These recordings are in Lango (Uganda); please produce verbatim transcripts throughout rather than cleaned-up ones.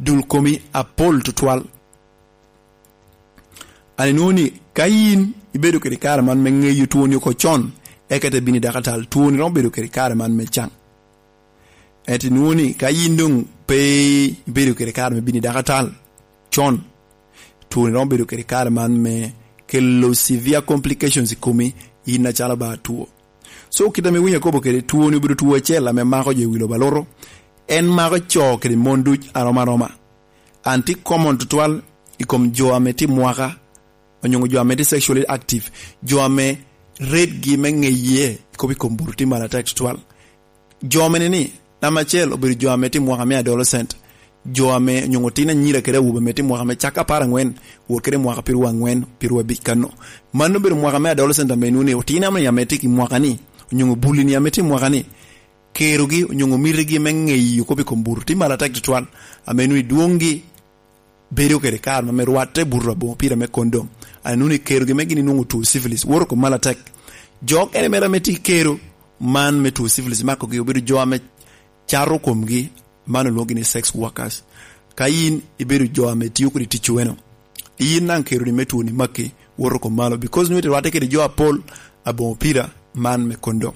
dul komi apol tutwal. An inwoŋo ni ka yin ibedo kede kare man me ŋeyo twoni oko con, eka ite bino i dakatal, twoni romo bedo kede kare man me caŋ. Ento inwoŋo ni ka yin doŋ pe ibedo kede kare me bino i dakatal con, twoni romo bedo kede kare man me kelo severe complications i komi, yin acalo ba two. So, kit ame winyo akobo kede, twoni obedo two acel ame mako jo i wi lobo alutu. En mako co kede mon duc arom aroma. An tye common tutwal i kom jo ame tye mwaka, onyo jo ame tye sexually active, jo ame rate-gi me ŋeye i kop i kom buto tye malo atek tutwal. Jo mene ni, namba acel obedo jo ame tye mwaka me adolescent, jo ame onyo tin anyira kede awobe ame tye mwaka me cak apar angwen, wot kede mwaka pirwo angwen, pirwo abic kano. Mano obedo mwaka me adolescent ame inwoŋo ni otino ame, ame tye i mwaka ni, onyo bulli ni ame tye i mwaka ni, kerogi onyo mitigi me ŋeyo kop i kom buto tye malo atek tutwal, ame inwoŋo ni dwoŋgi bedo kede kare ma me rwatte buto aboŋo pira me kondom. An inwoŋo ni kerogi me gin inwoŋo two syphilis, woto kom malo atek. Jo okene mere ame tye i kero man me two syphilis makogi obedo jo ame cato komgi, man olwoŋogi ni sex workers. Ka yin ibedo jo ame tio kodi tic weno, yin daŋ keroni me twoni makki, woto kom malo, because nwoŋo irwatte kede jo apol aboŋo pira man me kondom.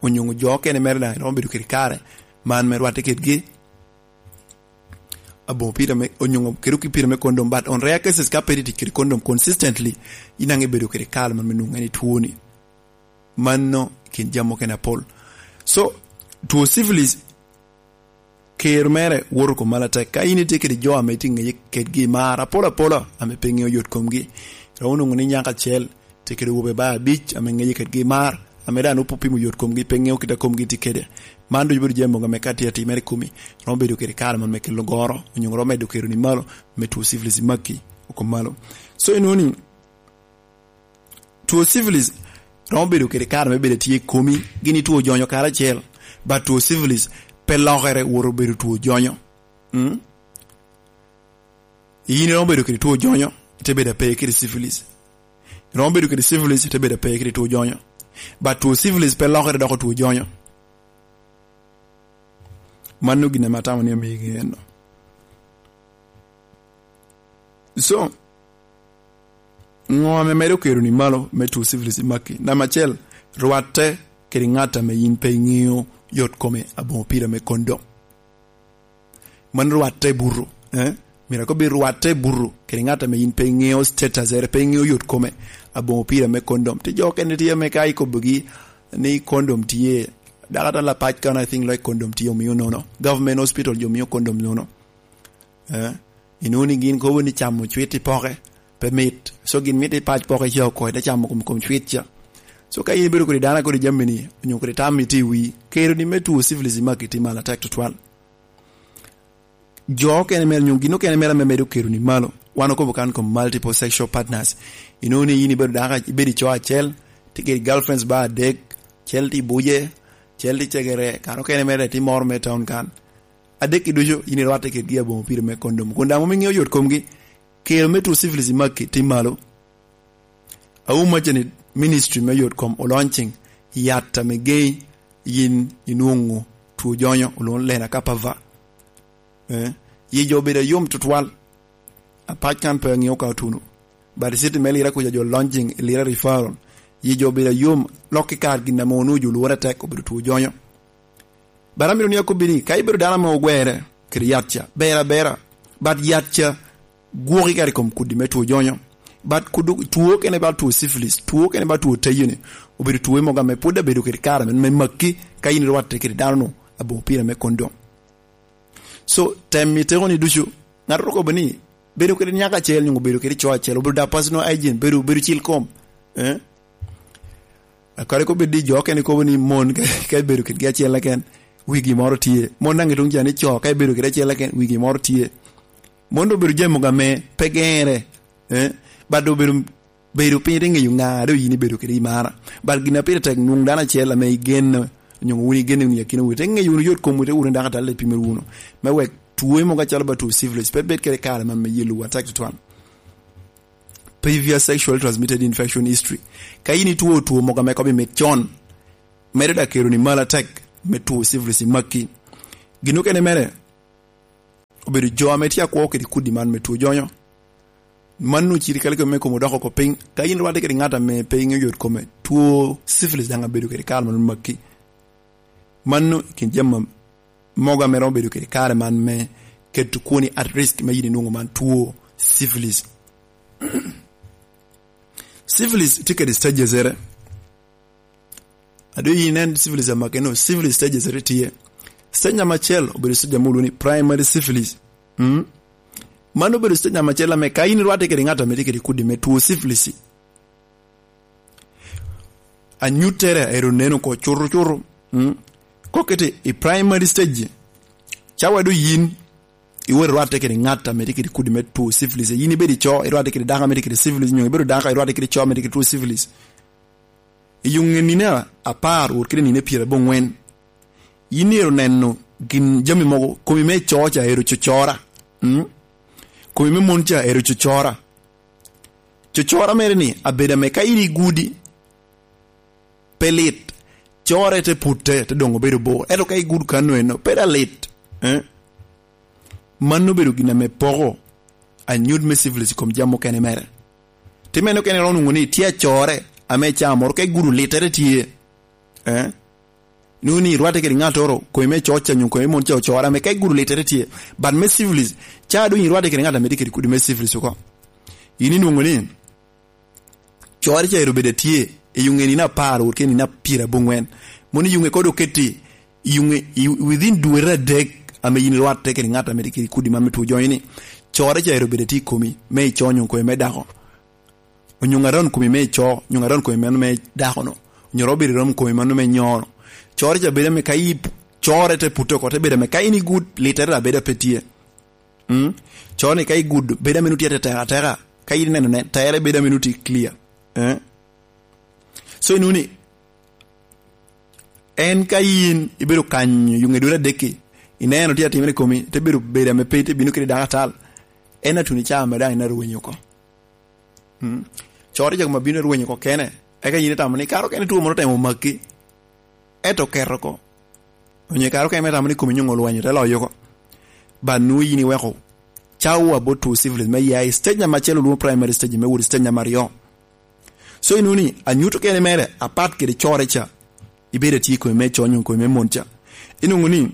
Onyo jo okene mere daŋ iromo bedo kede kare man me rwatte kedgi aboŋo pira me, onyo kede ki pira me kondom, but on rare cases ka pe itye tic kede kondom consistently, yin daŋ ibedo kede kare man me nwoŋo en itwoni. Mano i kin jami okene apol. So, two syphilis, kero mere woto kom malo atek. Ka yin itye kede jo ame itye ŋeye kedgi i mar apol apola, ame pe ŋeo yot komgi, romo nwoŋo ni nyako acel tye kede wobe ba abic ame ŋeye kedgi i mar, ame daŋ nwoŋo pe opimo yot komgi, pe ŋeo kit a komgi tye kede. Man ducu bedo jami mogo ame ka tye atimere i komi, romo bedo kede kare man me kelo goro, onyo romo medo keroni malo, me two syphilis i makki oko malo. So, inwoŋo ni, two syphilis romo bedo kede kare me bedo tye i komi, gin two jonyo karacel, but two syphilis pe lokere woto bedo two jonyo. Mm? Yin iromo bedo kede two jonyo, ite bedo ape kede syphilis. Iromo bedo kede syphilis, ite bedo ape kede two jonyo. But two syphilis pe lokere doko two jonyo. Mano gin ame atamo ni amio ŋeno. So, ŋo ame medo keroni malo me two syphilis i makki? Namba acel, rwatte kede ŋat ame yin pe iŋeo yot kome aboŋo pira me kondom. Mano rwatte buto, eh? Myero akob i rwatte buto kede ŋat ame yin pe iŋeo status ere, pe iŋeo yot kome aboŋo pira me kondom. Tye jo okene tye ame ka ikobogi ni kondom tye, dok ata lapac kan, I think, like, kondom tye omio nono. Government hospital jo mio kondom nono. Eh? Inwoŋo ni gin kobo ni camo cwit i poke pe mit. So gin mito i pac poke ca oko, ite camo kom, kom cwit ca. So ka in ibedo kodi dano kodi jami ni, onyo kodi tam itye i wii, keroni me two syphilis i makki tye malo atek tutwal. Jo okene mere, nyo gin okene mere ame medo keroni malo, wan okobo kan kom multiple sexual partners. Inwoŋo ni yin ibedo dako, ibedo i co acel, tye kede girlfriends ba adek, cel tye i Buje, cel tye i Cegere, kare okene mere tye moro me town kan. Adek-ki ducu yin irwatte kedgi aboŋo pire me kondom. Kun daŋ mom iŋeo yot komgi, kero me two syphilis i makki tye malo. Awumacca ni ministry me yot kom o launching yat ame gei yin inwoŋo two jonyo, olwoŋo Lenacapavir. Eh, yi jo obedo ayom tutwal. Apac kan pe aŋeo ka otuno. But i city me Lira kuca jo launching i Lira referral. Yi jo obedo ayom, lok i kar gin ame onwoŋo jo lworo atek obedo two jonyo. But amito ni akobbi ni, ka ibedo dano ame ogwere kede yat ca, ber abera. But yat ca gwoki kare i kom kudi me two jonyo. But kudu, two okene ba two syphilis, two okene ba two tayoni, obedo two mogo ame pwod abedo kede kare me, me makki, ka in irwatte kede dano-nu aboŋo pire me kondom. So, tem i tekoni ducu, ŋat oromo kobo ni, bedo kede nyako acel, nyo bedo kede co acel, obedo da personal hygiene, bedo, bedo cil kom. Eh? Kadi kobo di jo okene kobo ni mon ka, ka ibedo kedgi acel keken, wigi moro tye. Mon daŋ i tuŋ ca ni co, ka ibedo kede acel keken, wigi moro tye. Mon doŋ obedo jami mogo ame pe gere, eh? But doŋ obedo, bedo piny te ŋeyo ŋa doŋ yin ibedo kede i mara. But gin a pire tek, nwoŋ dano acel ame igeno, onyo wun igeno wunu i akinawu, te ŋeyo wunu yot komwu, te wunu dako atal, te pimo wunu. Me wek two mogo acalo ba two syphilis, pe bed kede kare man me yelowu atek tutwal. Previous sexually transmitted infection history. Ka in itwo two mogo ame kobo mit con, medo da keroni malo atek me two syphilis i makki. Gin okene mere, obedo jo ame tye akwo kede kudi man me two jonyo. Mano ciri kale kome me kom odoko oko piny. Ka in rwatte kede ŋat ame pe iŋeo yot kome, two syphilis daŋ abedo kede kare man makki. Mano i kin jami mogo ame romo bedo kede kare man me keto kwoni at risk me yin inwoŋo man two syphilis. Syphilis tye kede stages ere. Ado yin inen syphilis amake no, syphilis stages ere tye. Stage namba acel obedo stage ame olwoŋo ni primary syphilis. Mm? Mano obedo stage namba acel ame ka in irwatte kede ŋat ame tye kede kudi me two syphilis, anyuttere ero neno oko cuto cuto. Mm? Kokete i primary stage, cawa do yin iwot irwatte kede ŋat ame tye kede kudi me two syphilis. Yin ibedo ico, irwatte kede dako ame tye kede syphilis, nyo ibedo dako irwatte kede co ame tye kede two syphilis. I yo ŋe nino apar wot kede nino pyeraboŋwen, yin myero neno gin jami mogo, komi me co ca ero cocora. Mm? Komi me mon ca ero cocora. Cocora mere ni abedo ame ka in igudi, pe lit. Core te putte, te doŋ obedo bor. Ento ka igudo kano eno, pe da lit. Eh? Mano obedo gin ame poko anyut me syphilis i kom jami mukene mere. Ti meno kene romo nwoŋo ni tye acore ame caa moro ka igudo littere tye. Eh? Nwoŋo ni irwatte kede ŋattoro, kome me coc ca nyo kome me mon ca ocore, ame ka igudo littere tye. But me syphilis, ca doŋ irwatte kede ŋat ame tye kede kudi me syphilis oko. In inwoŋo ni, core ca ero bedo atye i yo ŋe nino apar wot kede nino pyeraboŋwen. Mono i yo ŋe kodo oketi i yo ŋe, i, within dwete adek ame yin irwatte kede ŋat ame tye kede kudi man me two jonyo ni, core ca ero bedo atye i komi, me ico nyo kome me dako. Onyo ŋaron komi me ico, onyo ŋaron komi mano me dako no. Onyo romo bedo rom komi mano me nyo no. Core ca bedo ame ka i p-, core te putte oko, te bedo ame ka in igud, littere abeda pe tye. Mm? Core ni ka igudo, bedo ame nutye ateteka ateka. Ka in ineno ne, tere bedo ame nutye clear. Eh? So, inwoŋo ni, en ka yin ibedo kanyo, yo ŋe dwete adek-ki, ineno tye atimere i komi, te bedo bedo ame pe, te bino kede dako atal. En atuni ca ame daŋ in arwenyo oko. Mm. Core ca kome bino arwenyo oko kene. Eka yin itamo ni, kara okene two moro otemo maki. Ento oketo oko. Onyo kara okene itamo ni komi nyoŋo olwanyo, te loyo oko. But nwoŋo yin iweko cawa bot two syphilis me ya i stage namba acel olwoŋo primary stage, me wot i stage namba aryo. So, inwoŋo ni anyut okene mere, apat kede core ca, ibedo atye i komi me co nyo komi me mon ca. Inwoŋo ni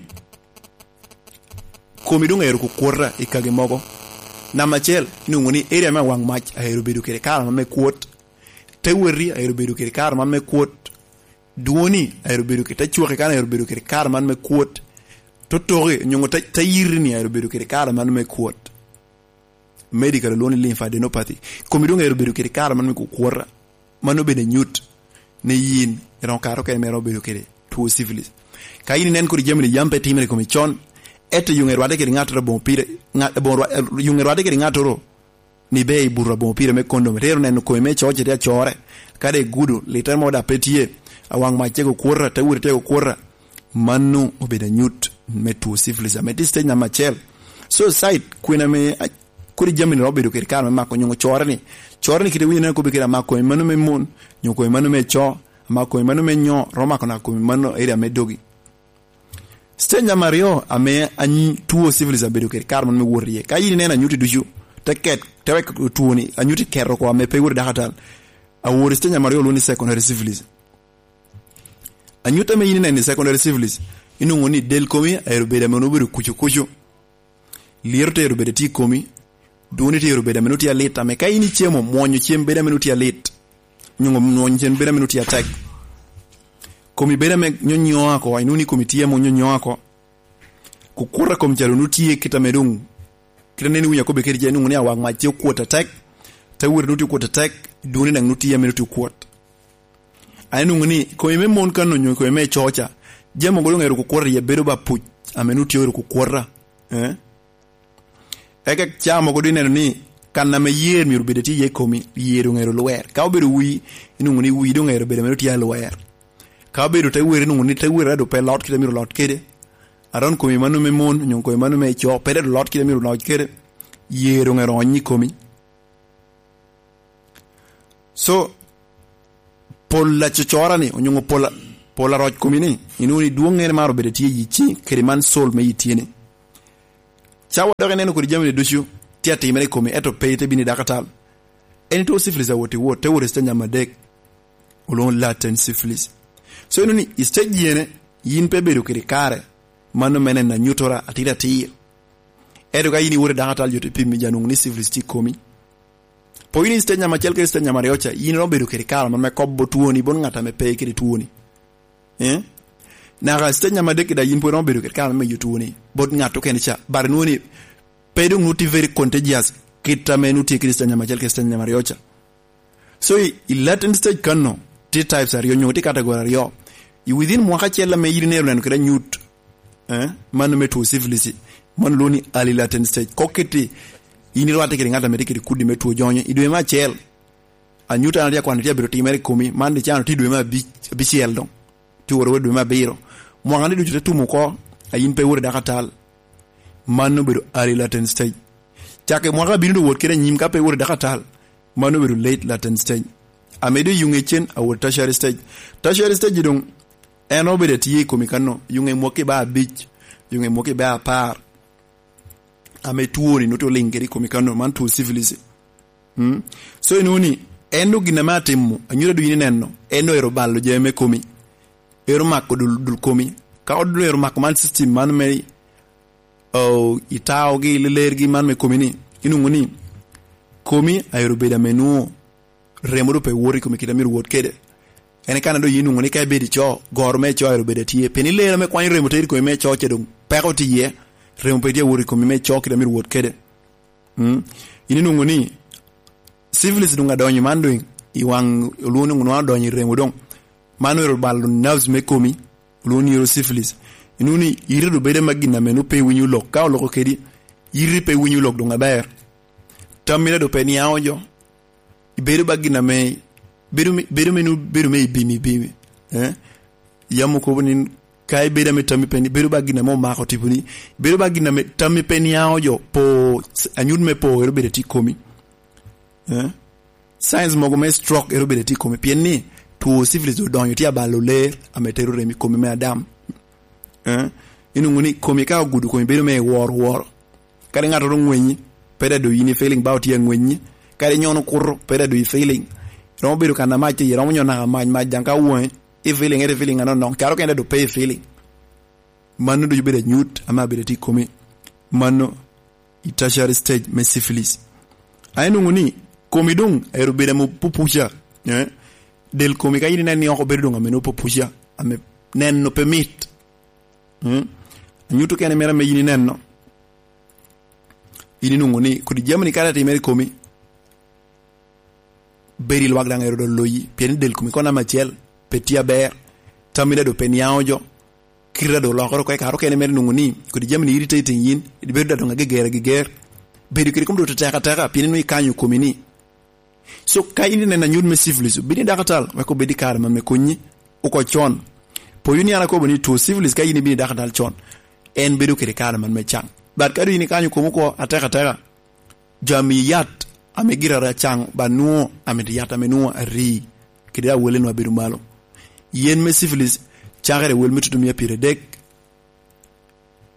komi doŋ ero kukwota i kagi mogo. Namba acel, inwoŋo ni area me awaŋ mac aero bedo kede kare man me kwot. Te weti aero bedo kede kare man me kwot. Dwoni aero bedo kede, te cwaki kan aero bedo kede kare man me kwot. Totoki, nyoŋo te, te yiri ni aero bedo kede kare man me kwot. Medical olwoŋo ni lymphadenopathy. Komi doŋ ero bedo kede kare man me kukwota. Mano obedo anyut ni yin iroŋo kare okene me romo bedo kede two syphilis. Ka yin inen kodi jami ni yam pe timere i komi con, ento yuŋe rwadde kede ŋattoro aboŋo pire, ŋa-, aboŋo rwa-, yuŋe rwadde kede ŋattoro ni be i buto aboŋo pire me kondom. Itero neno komi me coc tye acore. Ka dok igudo, littere mo dok pe tye. Awaŋ mac tye kukwota, te wot tye kukwota. Mano obedo anyut me two syphilis, ame tye stage namba acel. So, side, kwena me, a-, kodi jami ni romo bedo kede kare me mako nyoŋo core ni. Core ni kite winyo neno kobbe kede amako komi mano me mon, nyo komi mano me co, amako komi mano me nyo, romo mako naka komi mano area me dogi. Stage namba aryo, ame anyi two syphilis abedo kede kare mano me wot iye. Ka yin ineno anyuti ducu, te ket, te wek two ni, anyuti keto oko ame pe wot i dako atal. Awor i stage namba aryo olwoŋo ni secondary syphilis. Anyut ame yin ineno i secondary syphilis, inwoŋo ni del komi aero bedo ame onwoŋo obedo kucu kucu. Lyeto tero bedo tye i komi, dwoni tero bedo ame nutye alit, ame ka in icemo, mwonyo cem bedo ame nutye alit, nyo mwonyo cem bedo ame nutye atek. Komi bedo ame nyonyo oko, inwoŋo ni komi tye ame onyonyo oko. Kukuta kom calo nutye kit ame doŋ, kit ame neno winyo akobbe kede ce, inwoŋo ni awaŋ mac tye okwot atek, te wot nutye okwot atek, dwoni daŋ nutye ame nutye okwot. An inwoŋo ni komi me mon kan onyo komi me coca, jami mogo doŋ ero kukwota iye bedo ba puc, ame nutye ero kukwota. Eh? Eka ca mogo doŋ ineno ni kan ame yer myero obed tye iye i komi, yer doŋ ero lwer. Ka obedo wii, inwoŋo ni wii doŋ ero bedo ame tye alwer. Ka obedo te wer, inwoŋo ni te wer ado pe lot kite myero lot kede. Aron komi mano me mon, onyo komi mano me co, pe ado lot kite myero lot kede. Yer doŋ ero onyi komi. So, pol acocora ni, onyo pol, pol aroc komi ni, inwoŋo ni dwoŋŋere mar obedo tye i ci, kede man sol me yi tye ni. Cawa dok ineno kodi jami ducu tye atimere i komi, ento pe ite bino i dakatal. En itwo syphilis awot i wot, te wot i stage namba adek, olwoŋo latent syphilis. So, ineno ni i stage yene, yin pe bedo kede kare, mano mene na nyutora atir atir. Ento ka yin iwot i dakatal, jo te pimi, ja nwoŋo ni syphilis tye i komi. Po yin i stage namba acel kede stage namba aryo ca, yin iromo bedo kede kare man me kobo twoni bot ŋat ame pe kede twoni. Eh? Naka stage namba adek da yin pwod iromo bedo kede kare me miyo twoni bot ŋat okene ca. But nwoŋo ni pe doŋ nwoŋo tye very contagious kit ame nwoŋo tye kede stage namba acel kede stage namba aryo ca. So, i, i latent stage kanno, tye types aryo, nyo tye category aryo. I within mwaka acel ame yin ineno neno kede anyut, eh, mano me two syphilis, mano lwongo ni early latent stage. Kok kiti, yin irwatte kede ŋat ame tye kede kudi me two jonyo. I dwe me acel, anyut an atye akwano tye abedo timere i komi, man dicano tye dwe me abic, abicel doŋ. Tye woro wot dwe me abiro. Mwaka ni ducu te tumo oko, a yin pe iwot i dakatal. Mano obedo early latent stage. Cak i mwaka abino doŋ wot kede anyim ka pe iwot i dakatal. Mano obedo late latent stage. Ame doŋ yuŋe cen awot tertiary stage. Tertiary stage doŋ en obedo atye i komi kanno. Yuŋe mwaki ba abic, yuŋe mwaki ba apar. Ame twoni nwoŋo tye oliŋ kede i komi kanno, man two syphilis. Mm? So, inwoŋo ni, en doŋ gin ame atimo, anyuto doŋ yin ineno, en doŋ ero balo jami me komi. Ero mako dul, dul komi. Ka doŋ ero mako man system man me, oh, itaogi, lelergi man me komi ni, inwoŋo ni, komi aero bedo ame nwoŋo remo doŋ pe wot i komi kit a myero wot kede. En kan doŋ yin nwoŋo ni ka ibedo ico, goro me ico ero bedo atye. Pien i lero me kwanyo remo tero i komi me ico ce doŋ peko tye iye, remo pe tye awot i komi me ico kit a myero wot kede. Mm. Yin inwoŋo ni syphilis doŋ adonyo man doŋ i waŋ olwoŋo ni nwoŋo adonyo i remo doŋ. Man ero balo nerves me komi, olwoŋo ni ero syphilis. Inwoŋo ni ite doŋ bedo ma gin ame nwoŋo pe iwinyo lok. Ka oloko kedi, ite pe iwinyo lok doŋ aber. Tammi doŋ pe niaŋo jo. Ibedo ba gin ame, bedo me, bedo me, bedo me ibimi, ibimi. Eh? Yam okobo ni ka ibedo ame tammi pe ni, bedo ba gin ame omako tiponi. Bedo ba gin ame tammi pe niaŋo jo, po, anyut me po, ero bedo tye i komi. Eh? Signs mogo me stroke ero bedo tye i komi. Pien ni two syphilis odonyo tye abalo ler ame tero rem i komi me adam. Eh? Inwoŋo ni komi ka ogudo komi bedo me woro woro. Kadi ŋattoro ŋwenyi, pe daŋ doŋ yin i feeling ba otye aŋwenyi. Kadi nyono kuto, pe daŋ doŋ i feeling. Romo bedo kan amac, iye romo nyono naka mac, mac daŋ ka woŋe, i feeling, ete feeling anono, caro kene daŋ doŋ pe i feeling. Mano ducu bedo anyut, ame abedo tye i komi. Mano i tertiary stage me syphilis. A inwoŋo ni komi doŋ ero bedo ame pupuca, eh? Del komi ka yin ineno ni oko bedo doŋ ame nwoŋo pupuca, ame neno pe mit. Mm? Anyuto kene mere ame yin ineno. Yin inwoŋo ni kodi jami-ni kara timere i komi, bedo i lwak daŋ ero doŋ loyi, pien del komi kono namba acel pe tye aber, tammi daŋ doŋ pe niaŋo jo, kite daŋ doŋ olokere oko, i kare okene mere inwoŋo ni kodi jami-ni iritating yin, ibedo daŋ doŋ ageger ageger, bedo kede kom doŋ tetek ateka, pien inwoŋo ikanyo komi ni. So, ka in ineno anyut me syphilis, obin i dakatal, wek obed i kare man me konyi oko con. Poyo ni an akobo ni two syphilis, ka in ibino i dakatal con, en bedo kede kare man me caŋ. But ka doŋ in ikanyo komi oko atek ateka, jo amiyi yat ame gire ara caŋ, ba nwoŋo amito yat ame nwoŋo ari, kede awele nwoŋo abedo malo. Yen me syphilis cakere wel me tutumia pyeradek,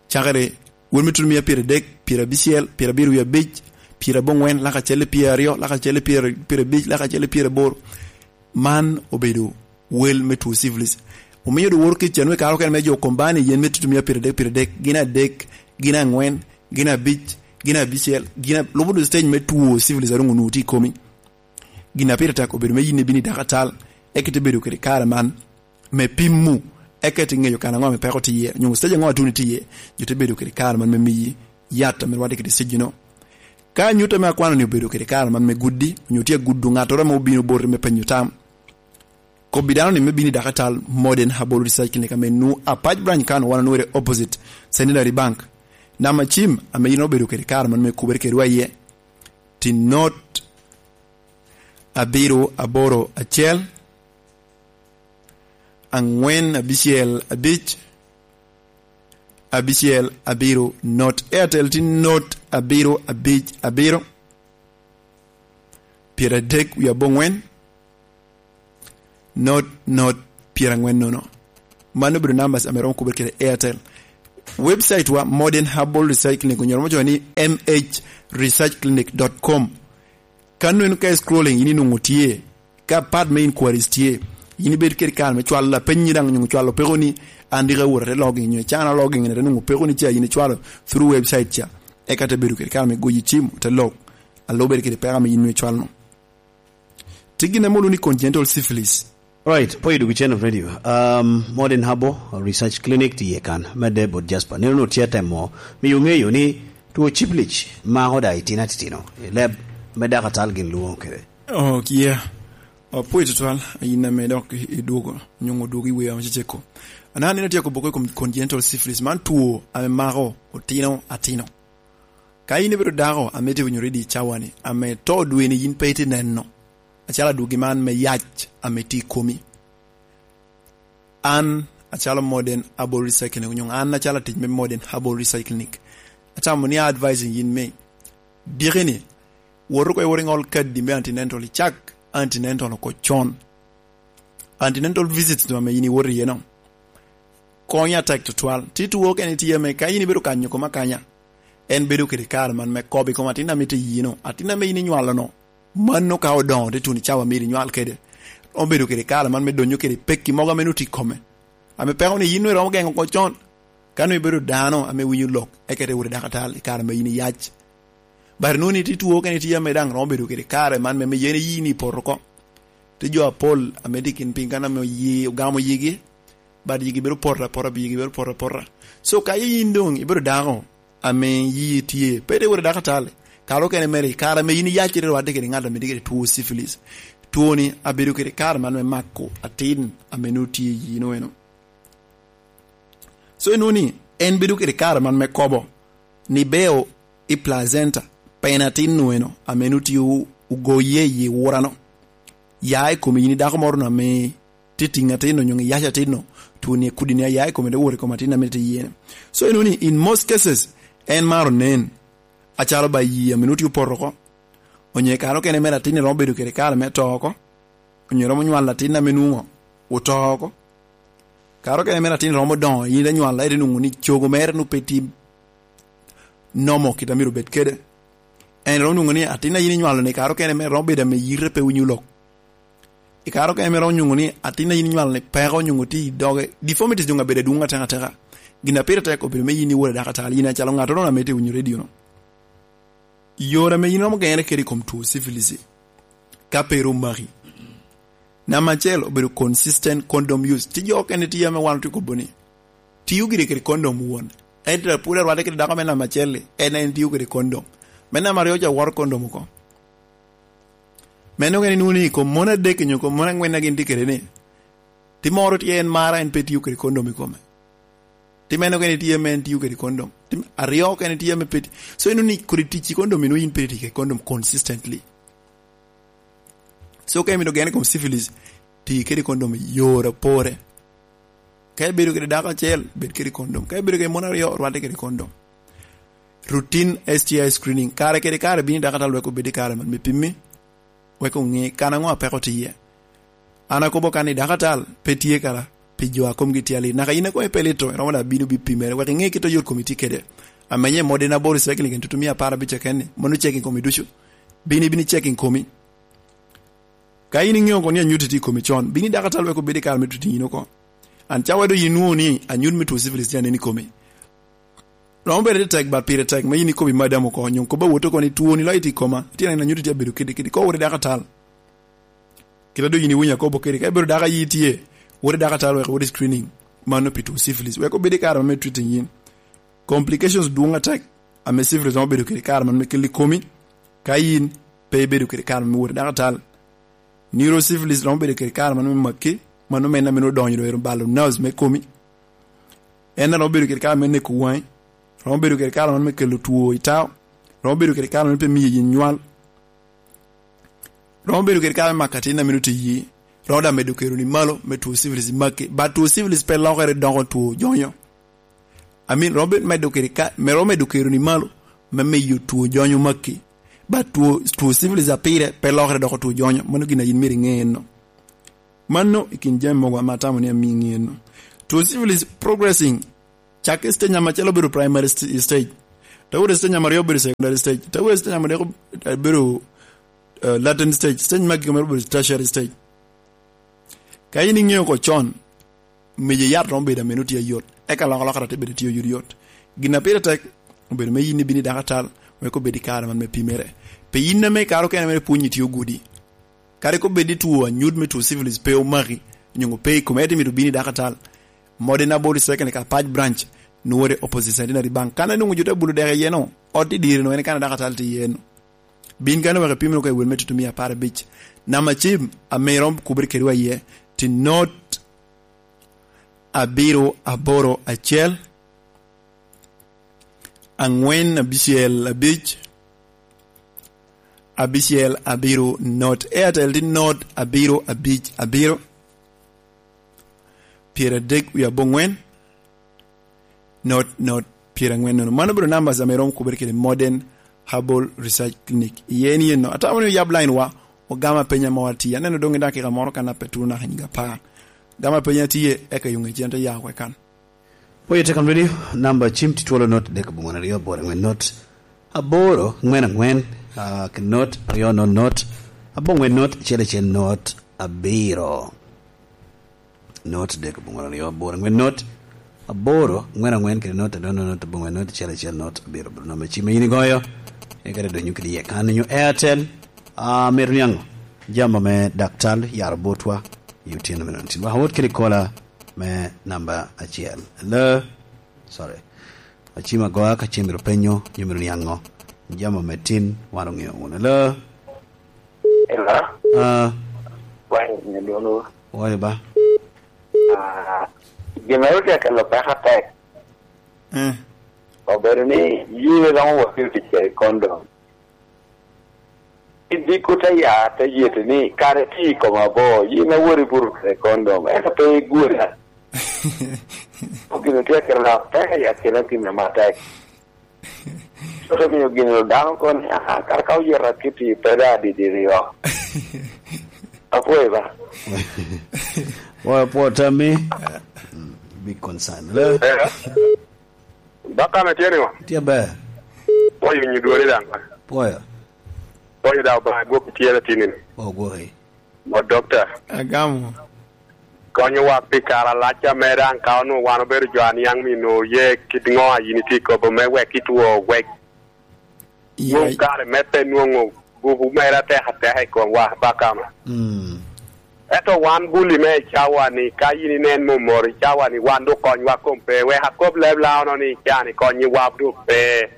cakere wel me tutumia pyeradek, pyerabicel, pyerabiro wie abic, pyeraboŋwen, laka cel i pyeraryo, laka cel i pyer-, pyerabic, laka cel i pyeraboro. Man obedo wel me two syphilis. Omio doŋ woro kec canwe kare okene me jo kombani yen me tutumia pyeradek, pyeradek, gin adek, gin aŋwen, gin abic, gin abicel, gin a-, lubo doŋ stage me two syphilis a doŋ onwoŋo tye i komi. Gin a pire tek obedo me yin ibino i dakatal, eka ite bedo kede kare man me pimo, eka ite ŋeyo kan aŋo ame peko tye iye, onyo stage aŋo atuni tye iye, jo te bedo kede kare man me miyi yat ame rwatte kede stage-no. Ka anyut ame akwano ni obedo kede kare man me gudi, onyo tye agudo ŋattoro ame obino boti me penyo tam, kobbi dano ni me bino i dakatal Modern Herbal Research Clinic ame nwoŋo Apac Branch kan wan onwere opposite Centenary Bank. Namba cim ame yin obedo kede kare man me kubere kedwa iye, tin not abiro aboro acel, aŋwen abicel abic, abicel abiro not. Airtel tin not abiro abic abiro, pyeradek wie aboŋwen, not not pyeraŋwen nono. Mano obedo numbers ame romo kubere kede Airtel. Website wa, Modern Herbal Research Clinic, onyoro mo cowa ni M H research clinic dot com. Ka nwen ka scrolling, yin inwoŋo tye. Ka part me inquiries tye, yin ibed kede kare me cwalo lapeny daŋ, nyo cwalo peko ni, an dika wot ate logging, nyo can a logging, ate nwoŋo peko ni ca yin icwalo through website ca. Eka te bedo kede kare me goyi cim, te log. Alo bedo kede peko ame yin nwoŋo icwalo no. Tye gin ame olwoŋo ni congenital syphilis. Right, po i duk channel radio. Um, Modern Herbal Research Clinic tye kan. Medde bot Jasper. Nino no tye temo miyo ŋeyo ni two syphilis mako da itino atitino. I leb me dakatal gin lwoŋo kede. Oh, yeah. Oh, po i tutwal, yin ame dok i, i dwogo, nyoŋo dwogo i wea maceceko. Ana nino tye kobo ko i kom congenital syphilis. Man two ame mako otino atino. Ka yin ibedo dako ame tye winyo ready i cawani, ame to dweni yin pe itye neno, acalo adwogi man me yac ame tye i komi. An acalo Modern Herbal Research Clinic, onyo an acalo atic me Modern Herbal Research Clinic, acamo ni advising yin me, dikini, wot oko iwot iŋol kadi me antenatal, icak antenatal oko con. Antenatal visits no ame yin iwoto iye no, konyo atek tutwal. Ti two kene tye ame ka yin ibedo kanyo koma kanya, en bedo kede kare man me kobo i kom atin ame tye yino, atin ame yin inywalo no. Mano ka odoŋo te tuno i cawa myero inywal kede, obedo kede kare man me donyo kede pekki mogo ame nutye i kome, ame peko ni yin nwe romo geŋo oko con. Ka nwe ibedo dano ame winyo lok, eka te wot i dakatal i kare ame yin iyac. But nuni ti two kene tye ame daŋ romo bedo kede kare man me, me yen yin ipoto oko. Ti jo apol ame tye kin piny kan ame oye, ogamo yigi, but yigi bedo poto apota, yigi bedo poto apota. So ka yin doŋ ibedo dako ame yi tye, pe te wot i dakatal, kare okene mere, kare ame yin iyacere rwadde kede ŋat ame tye kede two syphilis. Two ni abedo kede kare man me mako atin ame nutye i yino eno. So inwoŋo ni en bedo kede kare man me kobo ni beo i placenta, pien atin-nu eno ame nutye ogoye i wurano, ya i kom yin i dako moro ame tye tiŋ atin-nu, onyo iyac atin-nu, two ni kudi ni aya i kome te wot i kom atin ame tye iye-ni. So inwoŋo ni in most cases en maro nen acalo ba yi ame nutye opoto oko, onyo i kare okene mere atin-ni romo bedo kede kare me to oko, onyo romo nywalo atin ame nwoŋo oto oko. Kare okene mere atin romo doŋo, yin ite nywalo, ite nwoŋo ni cogo mere nwoŋo pe tye nomo kit a myero obed kede. En romo nwoŋo ni atin a yin inywalo ni kare okene mere romo bedo ame yite pe winyo lok. I kare okene mere romo nwoŋo ni atin a yin inywalo ni peko nwoŋo tye i doge. Deformities doŋ abedo adwoŋ ateka ateka. Gin a pire tek obedo me yin iwot i dakatal, yin acalo ŋattoro ame tye winyo radio no. Yore ame yin romo geŋere kede i kom two syphilis, ka pe rom maki. Namba acel obedo consistent condom use. Tye jo okene tye ame wan otye kobo ni, tio gire kede condom won. Ento pwod arwadde kede dako me namba acel-li, en en tio kede condom. Me namba aryo ca woro condom oko. Meno okene nwoŋo ni i kom mon adek nyo kom mon angwen a gin tye kede ni, ti moro tye en mara en pe tio kede condom i kome. Ti meno kene tye ame en tio kede condom. Ti aryo kene tye ame pe ti-, so inwoŋo ni kodi tic i condom, inwoŋo yin pe tic kede condom consistently. So ka imito gene i kom syphilis, ti kede condom i yore apore. Ka ibedo kede dako acel, bed kede condom. Ka ibedo kede mon aryo, rwadde kede condom. Routine S T I screening. Kare kede kare bino i dakatal wek obed i kare man me pimmi, wek oŋe kan aŋo a peko tye iye. An akobo kan ni dakatal pe tye kara pi jo a komgi tye alit. Naka in a komi pe lito, iromo da bino bi pimere, wek iŋe kit oyot komi tye kede. Amenye modi na boro i cycling en tutu mia apar abic keken ni, mono checking komi ducu. Bini, bini checking komi. Ka in iŋeo kono ni anyut tye i komi con, bini dakatal wek obed i kare me tuti in oko. An cawa do yin nwoŋo ni anyut me two syphilis tye anen i komi. Romo bedo ni tek, but pire tek me yin ikobo i madam oko, nyo kobo awot oko ni twoni loyo tye i koma, tye neno anyut tye abedo kidi kidi, ko wot i dakatal. Kit a doŋ yin iwinyo akobo kede, ka ibedo dako ayi tye, wot i dakatal wek wot i screening, mano pi two syphilis, wek obed i kare ma me treating yin. Complications dwoŋ atek, ame syphilis romo bedo kede i kare man me kelo i komi, ka yin pe ibedo kede i kare me wot i dakatal. Neurosyphilis romo bedo kede i kare man me maki, mano mene ame nwoŋo odonyo doŋ ero balo nerves me komi. En romo bedo kede i kare me neko waŋi, romo bedo kede i kare man me kelo two i tao, romo bedo kede i kare man pe miyo yin nywal, romo bedo kede i kare me mako atin ame nwoŋo tye iyi, romo daŋ medo kero ni malo me two syphilis maki. But two syphilis pe lokere doko two jonyo. I mean, romo medo kede ka, me romo medo kero ni malo, me miyo two jonyo maki. But two, two syphilis a pire pe lokere doko two jonyo. Mano gin a yin myero iŋe enno. Mano i kin jami mogo ame atamo ni amii iŋe enno. Two syphilis progressing Cak i stage namba acel obedo primary st-, stage. Te wot i stage namba aryo obedo secondary stage. Te wot i stage namba adek obedo, eh, latent stage. Stage me agikki mere obedo tertiary stage. Ka in iŋeo oko con, mejo yat romo bedo ameno tye ayot. Eka lok alokere te bedo tye oyot yot. Gin a pire tek obedo me yin ibino i dakatal, wek obed i kare man me pimere. Pi yin ame i kare okene mere pwonyi tye ogudi. Kadi ka obed ni two anyut me two syphilis pe omaki, onyo pe i kome, ento myero obin i dakatal. Modern Herbal Recycling ka Pac Branch, nwore opposite Centenary Bank. Kan anwoŋo jo te bulo dek iye no, ot i diri no, en kan a dakatal tye iye no. Bin kan wek ipim wunu ka i wel me tutumia apar abic. Namba cim ame iromo kubere kedwa iye, tye not abiro aboro acel, angwen abicel abic, abicel abiro not. Airtel tye not abiro abic abiro, pyeradek wie abongwen, not not pyerangwen nono. Mano obedo numbers ame iromo kubere kede Modern Herbal Research Clinic. Iye ni eno, atamo ni oyab line wa, ogama penya ma watye. Aneno dong i dakika moro kan ape tuno naka nyiga apar. Gama penya tye, eka yuŋ ecen te ya oko i kan. Oye Tekan Radio, namba cim tye twolo not dek abongwen aryo aboro angwen not aboro angwen angwen, ah, ki not aryo not not abongwen not acel acel not abiro. Not dek abongwen aryo aboro angwen not aboro angwen angwen kede not aryo not not abongwen not acel acel not abiro. Bro namba cim yin igoyo, eka te donyo kede iye kan nyo Airtel, ah, mito niaŋo jami me daktal yaro botwa i otyeno me nontin. Waka wot kede kola me namba acel. Hello? Sorry. Acim agoya ka cim myero penyo, nyo myero niaŋo. Jami ame tin, wan oŋeo wunu. Hello? Hello? Ah. Wai, nyo dwono. Wai ba. Ah, gin ma otye kelo peko atek. Eh. Obedo ni yie romo wot i tic kede condom. Idiko te ya, te yete ni, kare tye i koma bo, yin awori buru kede kondom, ento pe igwora. Gin otye akelo na pek i akina tim na matek. Ote miyo gin dano kono ni, "Ah, kara ka oyeta kiti, pe da didi ryo." Apwoyo ba. Apwoyo, apwoyo tammi. Mm, big concern. Le? Eh. Baka me tye ni wa? Tye ber. Pwoyo nyi dwori daŋ. Pwoyo. Pwoyo daŋ ba gwok tye la tini ni. O gwoki. Mo dokta. Agamo. Konyo wa pi kare alac ame daŋ ka onwoŋo wan obedo jo aniaŋ mi nwoŋo ye kit ŋo a yin itye kobo me wek itwo wek. Iya. Nwoŋo kare me pe nwoŋo gupu mere atek ateka i kom wa bakama. Mm. Ento wan buli me i cawa ni, ka yin inen momoro i cawa ni, wan dok konywa kom pe, wek akob leb Laono ni, can i konyi wab dok pe.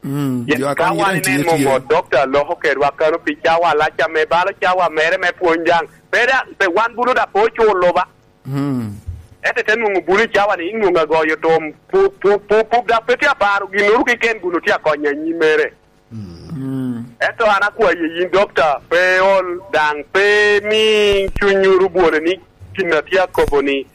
Mm, yen jo ka wan inen momoro, dokta loko kedwa kano pi cawa alac ame balo cawa mere me pwony daŋ. Pe daŋ, pe wan bulu da pe oculo ba. Mm. Ento te nwoŋo bulu i cawa ni, inwoŋo agoyo tom, pu-, pu-, pu-, pup daŋ pe tye aparo, ginnoro keken gunu tye akonyo anyim mere. Mm. Ento an akwaye yin, dokta, pe ol, daŋ pe mi cunywu rubwone ni gin a tye akobo ni,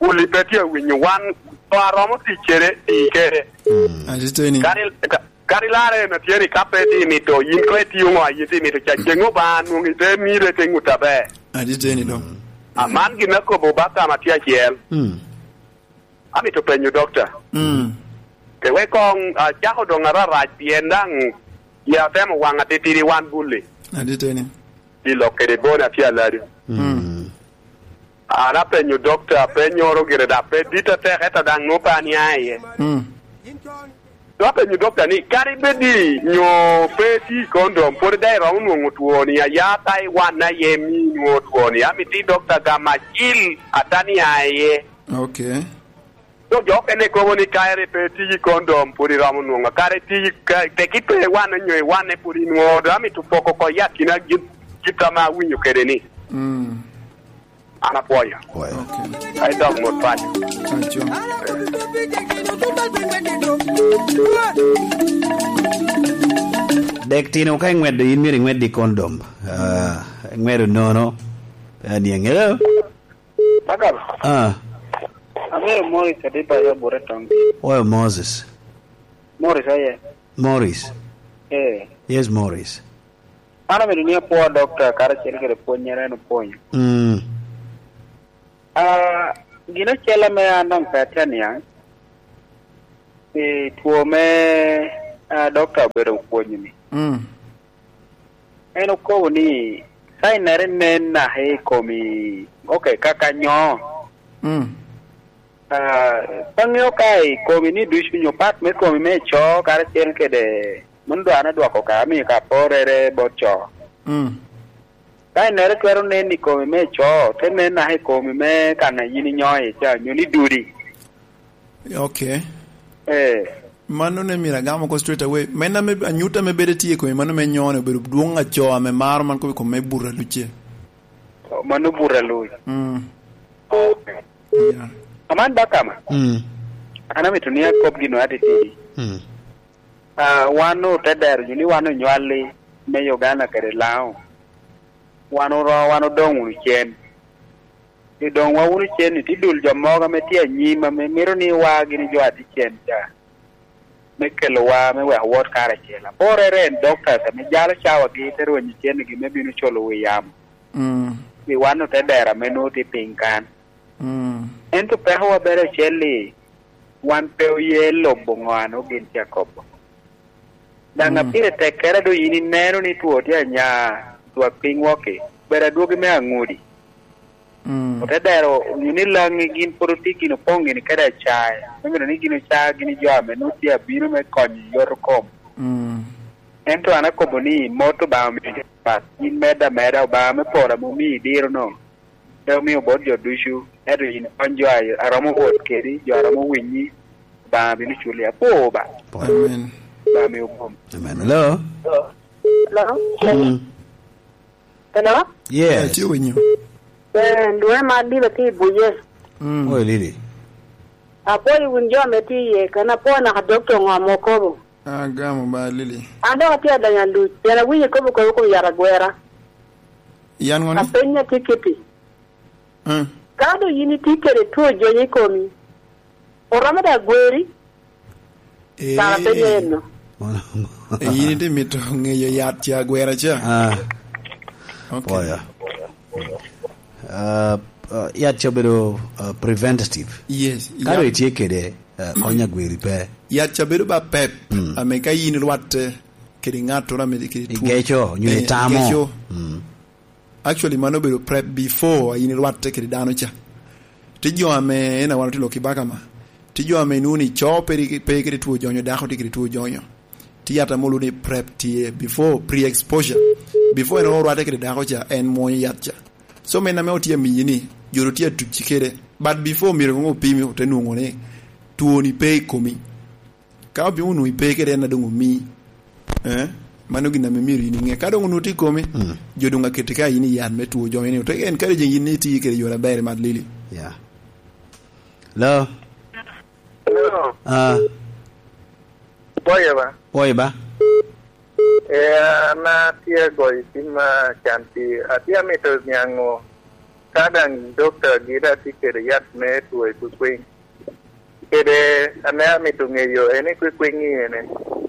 wuli pe tye awinyo wan, to aromo tic kede, tic kede. Mm. Atiteni. Kadi, ka-, kadi larre en atye ni ka pe tye mito, yin ko itio ŋo a yin tye mito, ca ceŋ Obaŋa nwoŋo ite mire te ŋut aber. Atiteni do. Mm. A man gin akobo ba kama tye acel. Mm. Amito penyo dokta. Mm. Te wek koŋ acako doŋ ararac, pien daŋ ya atemo waŋ atitidi wan buli. Aditeni. I lok kede bon atye aladi. Mm. An apenyo dokta, apenyoro gire dok pe dit atek, ento daŋ nwoŋo pe ania iye. Mm. Dok apenyo dokta ni, kadi bed ni nyo pe ti kondom, pwod daŋ iromo nwoŋo twoni, aya Taiwan aye mi nwoŋo twoni. Amito i dokta gam acil atania iye. Okay. So, jo okene kobo ni ka ere pe tiji kondom, pwod iromo nwoŋo. Kare tiji ka, teki pe iwanne nyo iwanne, pwod inwoŋo. Dok amito poko oko i akina gin, gin ame awinyo kede ni. Mm. An apwoyo. Pwoyo. Okay. Ai dog mot paco. Paco. Dek tino ka ingweddo, in myero ingwed i kondom. Ah, ingweddo nono. Pe aniaŋ. Hello? Bakal. Ah. Aŋeo Morris Adiba ya Bure Town. Oyo Moses. Morris aye. Morris. Eh. Yes, Morris. An amito ni apwo dokta karacel kede pwonnyere en opwonyo. Mm. Ah, gin acel ame an daŋ pe atye aniaŋ, I two me, ah, dokta obedo opwonyo ni. Mm. En okobo ni, ka inere nen naka i komi, ok, kaka nyo. Mm. Ah, ka ŋeo ka i komi ni ducu nyo pat me komi me co karacel kede, mano dwar adwoko ka, amiyo ka porrere bot co. Mm. Ka inere twero nen i komi me co, te nen naka i komi me kan a yin inyo iye ca, nyo ni dudi. Ok. Eh. Mano ne myero agam oko straight away. Men ame anyuta me bedo tye i kome, mano me nyone obedo dwoŋ aco ame maro man kobbi kome me buto aluc-ce. Mano buto aluc. Mm. Ok. Yeah. Aman ba kama. Mm. An amito ni akop gino atitidi. Mm. Ah, wan ote dero jo ni wan onywalli me Uganda kede Laŋo. Wan oro-, wan odoŋ wunu cen. I doŋ wa wunu cen-ni, tye dul jo mogo ame tye anyim ame mito ni wa gin jo a tye cen ca, me kelowa, me weko wot karacel. Aporrere en doctors ame jalo cawagi, te rwenyo cennigi me bino culo wi yamo. Mm. Pi wan ote dero ame nwoŋo tye piny kan. Mm. Ento pekowa bene ocel-li, wan pe oye lobo ŋo a nwoŋo gin tye akobo. Daŋ a pire tekkere doŋ yin ineno ni two tye anya, twak piny wok-ki, bedo adwogi me aŋudi. Mm. Ote dero onyo ni Laŋi gin pwod otye gin opoŋ gini kede acae, me mito ni gin oca gini jo ame nwoŋo tye abino me konyo i yot okom. Mm. Ento an akobo ni, mot Obaŋa omio jo pat, yin medde ameda, Obaŋa me polo ame omii diro-nu. Pe omio bot jo ducu, ento yin kony jo a, a romo wot kedi, jo a romo winyi, Obaŋa bino culi. Apwo ba. Amen. Obaŋa mi obwom. Amen. Hello? Hello? Mm. Hello? Yes. Atye winyo. Eh, lwonga Madila tye i Buye. Mm. Oi, Lili. Apwoyo wun jo ame tye iye, kan apwoyo naka dokta ŋo ame okobo. Agamo ba, Lili. An dok atye adonyo aluc, pien awinyo ikobo kop i kom yat agwera. Yan ŋo ni? Apenyi atikiti. Mm. Ka doŋ yin itye kede two jony i komi, oromo daŋ gweri? Eh. Kara apenyo eno. Eh, yin itye mito ŋeyo yat ca agwera ca? Ah. Ok. Pwoyo. Ah, ah, yat ca obedo, ah, preventative. Yes, ka doŋ itye kede, ah, kony agweri pe. Yat ca bedo ba pep, mm, ame ka yin irwatte kede ŋattoro ame tye kede two. Igeco, nyo, eh, itamo. Igeco. Mm. Actually, mano obedo prep before yin irwatte kede dano ca. Tye jo ame, en a wan otye lok i baka ma, tye jo ame inwoŋo ni co pe ri-, pe kede two jonyo, dako tye kede two jonyo. Tye yat ame olwoŋo ni prep tye before, pre-exposure. Before en orwatte kede dako ca, en mwonyo yat ca. So, men ame otye amiyi ni, jo ru tye atucci kede. But before, myero koŋ opimi, ote nwoŋo ni twoni pe i komi. Ka obino onwoŋo ipe kede en a doŋ omii, eh, mano gin ame myero yin iŋe. Ka doŋ onwoŋo tye i komi, mm, jo doŋ aketi ka yin i yat me two jonyo ni, ote encouraging yin ni iti kede yore aber, Mad Lili. Yeah. Hello? Hello? Ah. Pwoyo ba? Pwoyo ba? Eh, an atye agoyo cim, ah, can pi, atye amito niaŋ ka daŋ dokta gire atye kede yat me two i kwikwiny. Kede ame amito ŋeyo en i kwikwiny-ŋi ene,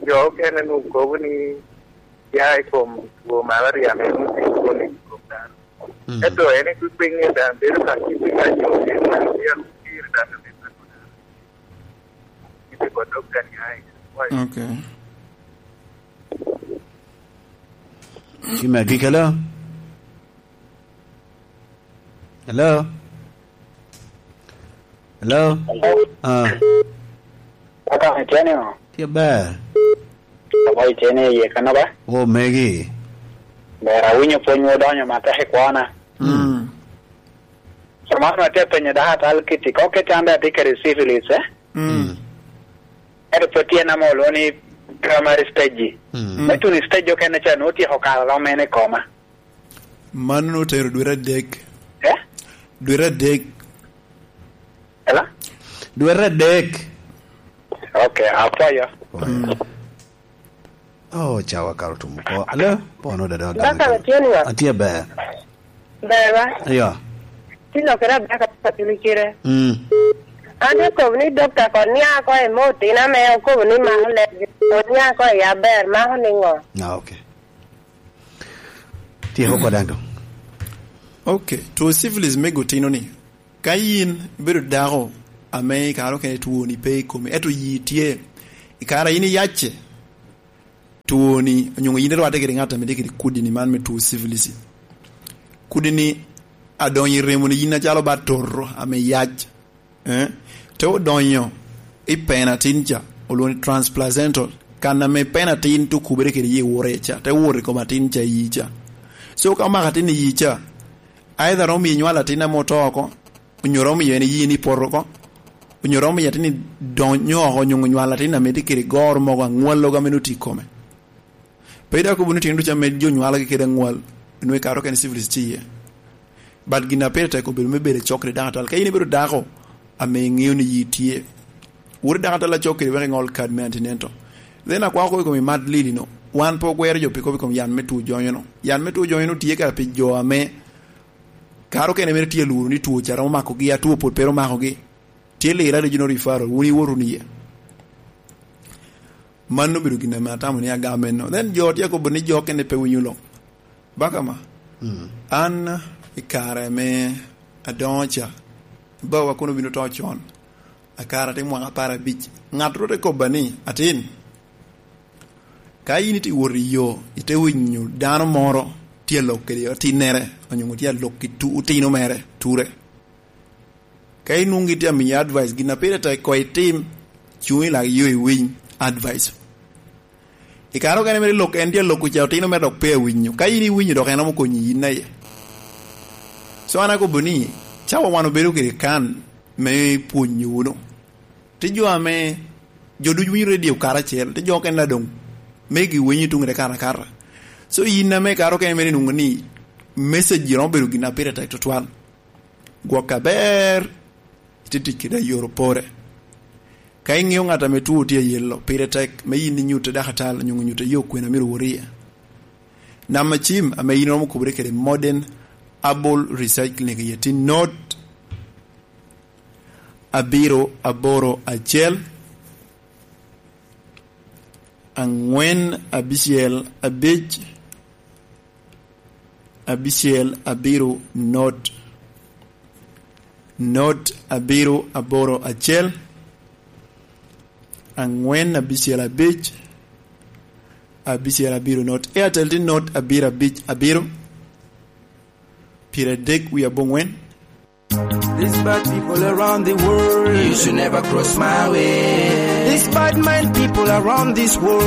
jo okene nwoŋo kobo ni ya i kom two malaria ame nwoŋo tye koni i kom dano. Mm. Ento en i kwikwiny-ŋi daŋ bedo ka kit i ka jo en daŋ tye alup pire daŋ ame mako dano. Kit i bot dokta ni ai. Ok. Cim agikki, hello? Hello? Hello? Hello? Ah. Aka itye ni o? Tye ber. Abo itye ni iye kano ba? O, megi. Ber, awinyo pwony odonyo matek i kwona. Mm. Samano atye apenyo dako atal kiti, ko kit an daŋ atye kede syphilis, eh? Mm. Ento pwod tye nama olwoŋo ni primary stage. Mm. Me tuno i stage okene ca, nwoŋo otyeko kalo lom en i koma. Mano otero dwete adek. Eh? Dwete adek. Ela? Dwete adek. Ok, apwoyo. Mm. Oh, cawa karo tum oko. Alo, pono dada. Baka agamo atye ni wa? Atye ber. Ber ba? Ayo. Ti lokere abaka pa tuli kire. Mm. An te kobo ni dokta ko nia ko e mo tina me okobo ni mako leb. Ko nia ko e aber mako ni ngo? Ah, ok. Tyeko koda ŋo? Ok, two syphilis me gutino ni, ka yin ibedo dako ame i kare okene twoni pe i komi, ento yi tye, I kare a yin iyacce, twoni, onyo yin irwatte kede ŋat ame tye kede kudi-ni man me two syphilis. Kudi-ni adonyo i remo-ni yin acalo ba toto ame yac, eh? Te odonyo i pena atin ca, olwoŋo ni transplacental, kan ame pena atin te okubere kede yi wore ca, te wot i kom atin ca iyi ca. So, ka omako atin iyi ca, either romo miyo nywalo atin ame oto oko, onyo romo miyo en iyi ni poto oko, onyo romo miyo atin-ni donyo oko, onyo nywalo atin ame tye kede goro mogo aŋwal logo ame nutye i kome. Pe dok okobo ni tyen ducu ame jo nywalogi kede aŋwal, onwoŋo i kare okene syphilis tye iye. But gin a pire tek obedo me bedo i cok kede dako atal. Ka in ibedo dako ame iŋeo ni yi tye, wot i dako atal a cok kede wek iŋol kad me antinento. Then akwako kop i kom i mad lili-no. Wan pe ogwero jo pi kop i kom yan me two jonyo-no. Yan me two jonyo-no tye kara pi jo ame kare okene mere tye aluro ni two ca romo makogi, a two pwod pe ro makogi. Tye lira regional referral, wun iwot wunu iye. Mano obedo gin ame atamo ni agam enno. Then jo tye akobo ni jo okene pe winyo lok. Baka ma, mm, an i kare ame adoŋo ca, bawa kono obino to con, akara tye mwaka apar abic. Ŋat ro te kobba ni, "Atin, ka yin itye wot i yo, ite winyo dano moro tye alok kede atinnere, onyo tye alok ki tu-, otino mere, ture. Ka inwoŋo gitye amiyi advice, gin a pire tek koŋ itim, cuŋ i lak yo iwiny advice." I kare okene mere lok en tye alok ca, otino mere dok pe awinyo. Ka in iwinyo, dok en romo konyi yin aye. So an akobo ni, cawa wan obedo kede kan me pwonyo wunu. Tye jo ame, jo ducu winyo redio karacel, tye jo okene a doŋ megi winyo tuŋ i te katakata. So yin ame kare okene mere inwoŋo ni message romo bedo gin a pire tek tutwal. Gwok aber, itye tic kede ayoro pore. Ka iŋeo ŋat ame two tye ayelo, pire tek me yin inyutte dakatal, onyo nyutte yo kwena myero wot iye. Namba cim ame yin iromo kubere kede Modern Herbal Research Clinic iye tye not abiro aboro acel, aŋwen abicel abic, abicel abiro not, not abiro aboro acel, aŋwen abicel abic, abicel abiro not. Airtel tye not abiro abic abiro, pyeradek wie aboŋwen. These bad people around the world, you should never cross my way. These bad mind people around this world,